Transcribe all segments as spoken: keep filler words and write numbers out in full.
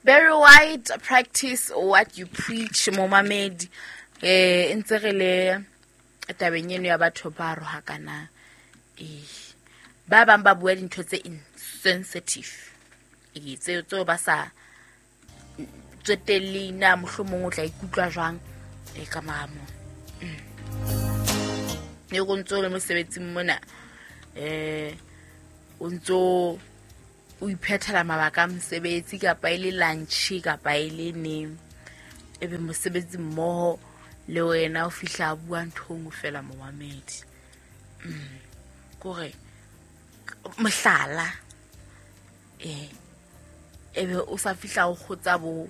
Barry White, practice what you preach, momamedi. Eh, ntse re le tabeng eno ya batho ba rohakanang. Eh, ba bang ba bua dintho tse insensitive. Eh, tseo tseo ba sa tsotelle na mohlomong o tla ikutlwa jwang e ka mora moo. E go ntso le mosebetsing mona, eh o ntso o iphethela mabaka a mosebetsi kapa e le lunch kapa e le neng, ebe mosebetsi mmoho le wena o fihla a bua ntho e nngwe fela momamedi. Mm. Kore mohlala, eh ebe o sa fihla o kgotsa bo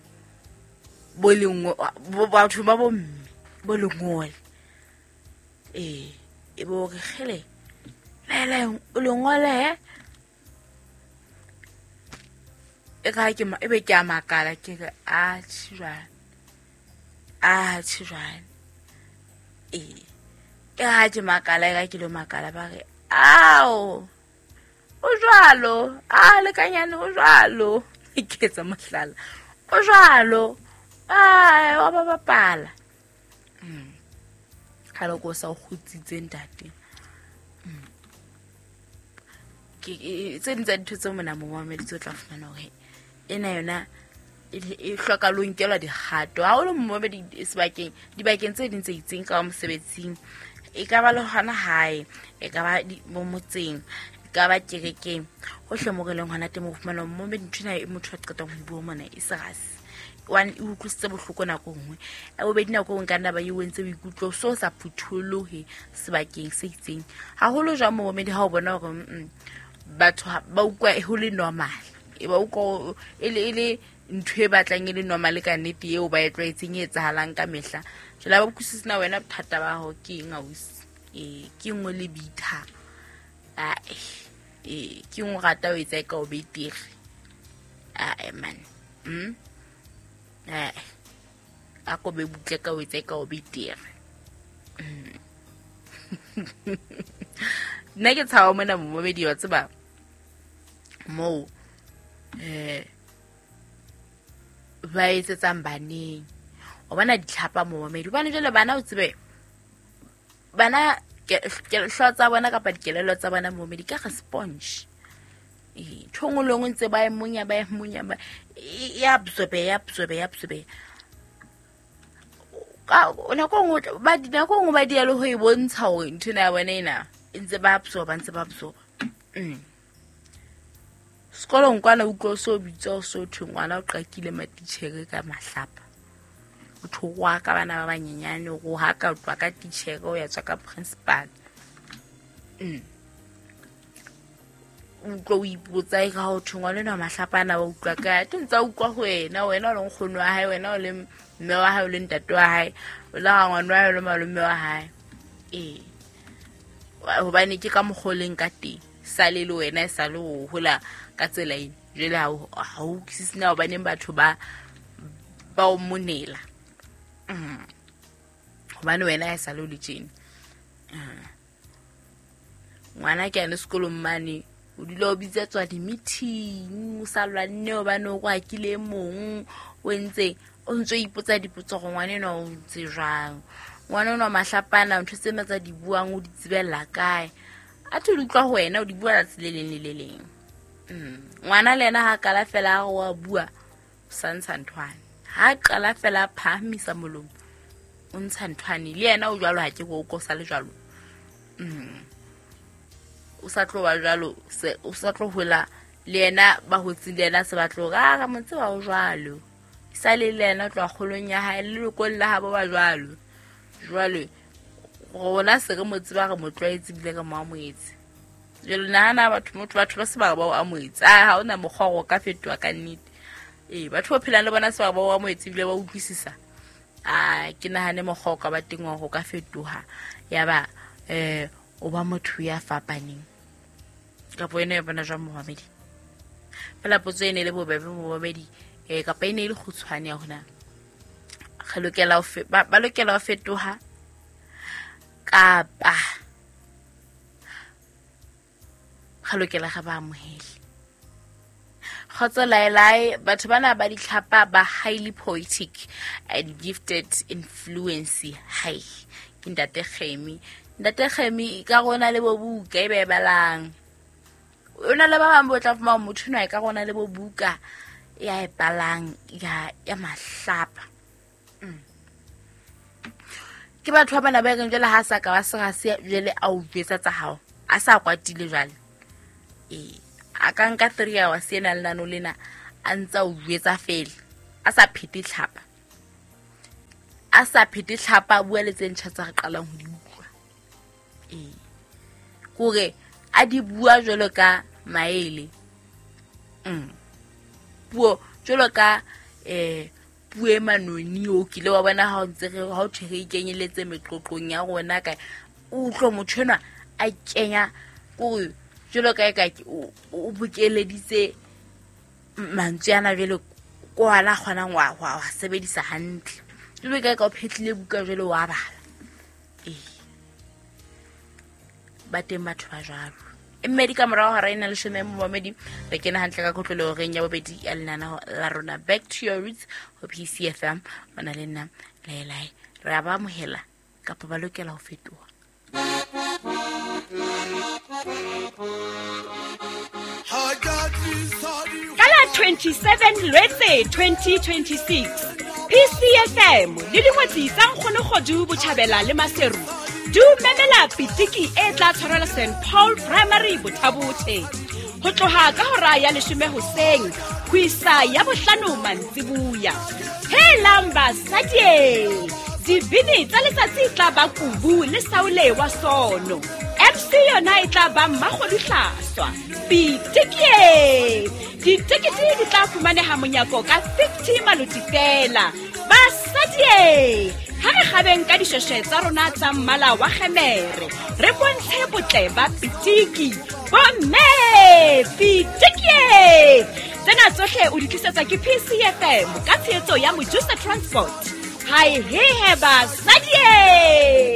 bo lengwe bo batho ba bo mme bo lengole. Eh ebe o re kgele lele o lengole he e ka ke ebe ke a makala ke re a tjhwa a tjhwa eh e ha ke makala e ka ke lo makala ba re ao o jwalo a lekanyane o jwalo ke etsa mohlala o jwalo a wa ba bapala. Mm. Ha lo go sa o kgutsitse ntate. Mm. Ke tse ding tsa dintho tseo mona momamedi tse o tla fumana hore ena yona e hloka lo nkelwa dikgato. Ha o le momamedi sebakeng dibakeng tse ding tse itseng ka mosebetsing, e ka ba le hona hae, e ka ba mo motseng, e ka ba kerekeng, hohle mo re leng hona teng o fumana momamedi ntho ena e motho a qetang ho bua mona e serious. One e utlwisitse bohloko nako nngwe, ya bobedi nako nngwe ka nna ba e o entse o ikutlwe o so sa phutholohe sebakeng se itseng. Haholo jwang momamedi ha o bona hore mm batho ba utlwa ho le normal, e ba utlwa e le e le ntho e batlang e le normal ka nnete eo ba e tlwaetseng e etsahalang ka mehla. Jwale ha ba utlwisise na wena bothata ba hao ke eng ausi, eh ke nngwe le bitha, ae eh ke nngwe rata o etsa e ka o betere ae man. Mm eh a ko be butle ka o etsa e ka o betere. Nna ke tshaba mona momamedi wa tseba moo eh ba etsetsang baneng. O bona ditlhapa momamedi hobane jwale bana o tsebe bana hlooho tsa bona kapa dikelello tsa bona momamedi ka re sponge. Eh ntho nngwe le nngwe ntse ba e monya ba e monya ba e absorbe ya absorbe ya absorbe. Ka nako nngwe ba nako nngwe ba dia le ho e bontsha hore ntho ena ya bona ena e ntse ba absorba ntse ba absorba. Mm. Sekolong kwana utlwa o so bitswa o so thwe ngwana o qakile matitjhere ka mahlapa. O thorwa ka bana ba banyenyane o rohaka o tlwa ka titjhere o ya tswa ka principal. Mm. Utlwa o ipotsa e ka ho thwe ngwana enwa mahlapa ana wa utlwa kae? Ke ntse a utlwa ho wena, wena o le nkgono wa hae, wena o le mme wa hae, o le ntate wa hae, o le rangwane wa hae, o le malome wa hae. Eh. Hobane ke ka mokgwa o leng ka teng. Sale le wena e sale ho hola ka tsela ena. Jwale ha o ha o utlwisise na hobaneng batho ba ba o monela. Mm. Hobane wena ha e sale o le tjena. Mm. Ngwana ke ane sekolong mane o dula o bitsetswa di-meeting, o sa lwanne hobane o kwakile mong, o entse o ntso ipotsa dipotso hore ngwana enwa o ntse jwang. Ngwana enwa mahlapana ntho tsena tsa di buang o di tsebella kae? A tho di utlwa ho wena o di bua tsatsi le leng le le leng. Mm. Ngwana le yena ha qala fela a re wa bua, o sa ntsha nthwane. Ha qala fela a phahamisa molomo, o ntsha nthwane. Le yena o jwalo ha ke go o sa le jwalo. Mm. O sa tlo ba jwalo, se o sa tlo hola le yena ba hotse le yena se ba tlo re a re mo tseba o jwalo. Sa le le yena o tloha kgolong ya hae le lelokong la habo ba jwalo. Jwale rona se re mo tseba re mo tlwaetse ebile re mo amohetse. Jwale nahana batho motho batho ba se ba re ba o amohetse. Ah ha hona mokgwa o ka fetoha ka nnete. Eh batho ba phelang le bona se ba re ba o amohetse ebile ba utlwisisa. Ah ke nahane mokgwa o ka ba teng wa ho ka fetoha ya ba eh o ba motho ya fapaneng. Kapa wena ya bona jwang momamedi? Fela potso e ne le bobebe momamedi eh kapa e ne e le kgutshwane ya hona. Re lokela ho ba ba lokela ho fetoha kapa re lokela re ba amohele. Kgotso laelae, batho bana ba ditlhapa ba highly poetic and gifted influence. Hai, ke ntate Kgemi. Ntate Kgemi ka rona le bo buka e be balang. O na le ba bang bo tla fumana motho enwa e ka rona le bo buka ya e balang ya ya mahlapa. Mm. Ke batho ba bana ba reng jwale ha sa ka ba sera se jwale a o jwetsa tsa hao. A sa kwatile jwale. Eh, a ka nka three hours ena le nano lena a ntsa o jwetsa fela. A sa phete tlhapa. A sa phete tlhapa a bua le tse ntjha tsa re qalang ho di utlwa. Eh. Kore a di bua jwalo ka maele. Mm. Puo jwalo ka eh puo e manoni o kile wa bona ha o ntse re ha o thwe re ikenyeletse meqoqong ya rona ka o utlwa motho enwa a kenya kore jwalo ka eka o bokeleditse mantswe ana jwale ko ana kgonang wa wa sebedisa hantle. Jwalo ka eka o phetlile buka jwale wa bala. Eh. Ba teng batho ba jwalo. Mmedi ka morao hora ena leshome momedi re kena hantle ka kotlolo reng ya bobedi ya lenaneo la rona Back to Your Roots ho P C F M. Ona le nna Laelae re a ba amohela kapa ba lokela ho fetoha. Ka la twenty-seven Lwetse twenty twenty-six P C F M le dingwetsi tsa Nkgono Kgodu Botjhabela le Maseru di memela pitiki e tla tshwarelwa Saint Paul Primary Bothabothe ho tloha ka hora ya leshome hoseng ho isa ya bohlano mantsibuya. Helang basadi, dibini tsa letsatsi tla ba kubu le saole wa sono. M C yona e tla ba Mmakgodu Hlaswa. Pitiki ditekete di tla fumaneha monyako ka fifty maloti fela. Basadi, ha re kgabeng ka dishweshwe tsa rona tsa mmala wa kgemere, re bontshe botle ba pitiki. Bomme, pitiki! Tsena tsohle o di tlisetsa ke P C F M ka tshehetso ya Mojusa Transport. Hai he he basadi!